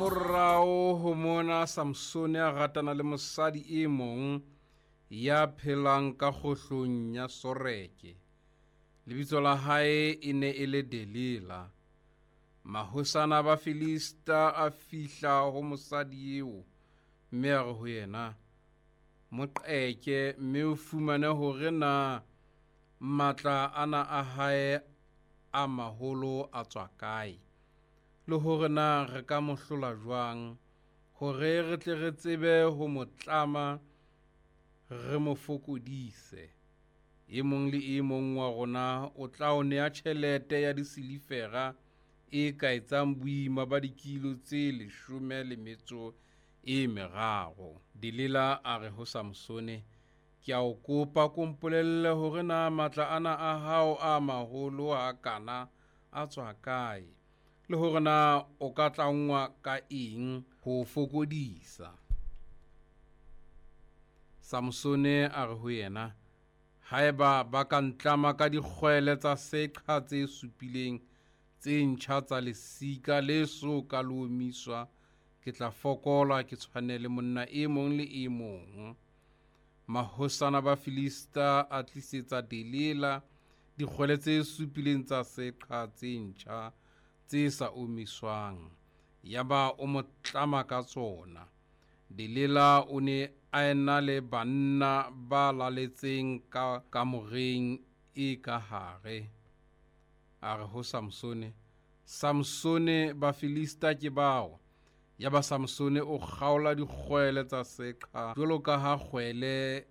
Hamorao ho mona Samsone a ratana le mosadi e mong ya phelang ka kgohlong ya Soreke. Lebitso la hae e ne e le Delila. Mahosana a Bafilista a fihla ho mosadi eo mme a re ho yena, Mo qeke mme o fumane hore na matla ana a hae a maholo a tswa kae, le hore na re ka mo hlola jwang, hore re tle re tsebe ho mo tlama re mo fokodise. E mong le e mong wa rona o tla o nea tjhelete ya disilifera e ka etsang boima ba dikilo tse 13. Delila a re ho Samsone, Ke a o kopa, ko mpolelle hore na matla ana a hao a maholo hakana a tswa kae, le hore na o ka tlangwa ka eng ho o fokodisa. Samsone a re ho yena, Haeba ba ka ntlama ka dikgwele tsa seqha tse supileng tse ntjha tsa lesika le so ka le omiswa, ke tla fokola ke tshwane le monna e mong le e mong. Mahosana ba Filista a tlisetsa Delila dikgwele tse supileng tsa seqha tse ntjha tse sa omiswang, yaba o mo tlama ka tsona. Delila o ne a ena le banna ba laletseng ka kamoreng e ka hare. A re ho Samsone, Samsone, Bafilista ke bao! Yaba Samsone o kgaola dikgwele tsa seqha jwalo ka ha kgwele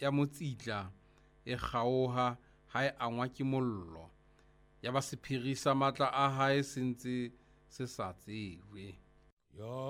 ya motsitla e kgaoha ha e angwa ke mollo. Yaba sephiri sa matla a hae se ntse se sa tsejwe.